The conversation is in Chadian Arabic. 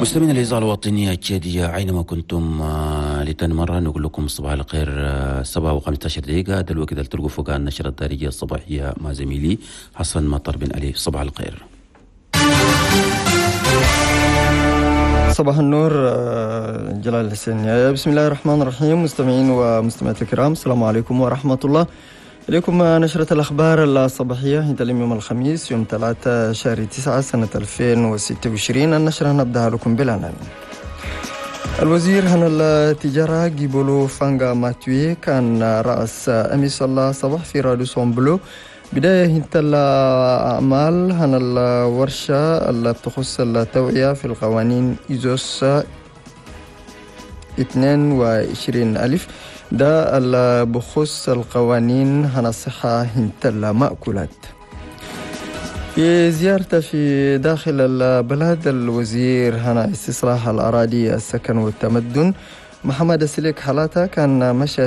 مستمعينا الإذاعة الوطنية التشادية أينما كنتم، لتاني مرة نقول لكم صباح الخير. 7:15، ده الوقت اللي تلقوا فوق النشرة الدارجية الصباحية مع زميلي حسن مطر بن علي. صباح الخير. صباح النور جلال الحسين. بسم الله الرحمن الرحيم. مستمعين ومستمعات الكرام، السلام عليكم ورحمة الله. إليكم نشرة الأخبار الصباحية عند اليوم الخميس يوم 3 شهر 9 سنة 2026. النشرة نبدأها لكم بالعناوين. الوزير هنا التجارة جيبولو فانغا ماتوي كان رأس أمس الصباح في راديسون بلو بداية هنت الأعمال هنا الورشة اللي بتخص التوعية في القوانين إيزوس 22 ألف، ده اللي بخص القوانين هنا الصحة هنت المأكولات. في زيارته في داخل البلد، الوزير هنا استصلاح الأراضي، السكن والتمدن محمد سليك حلاتا كان مشى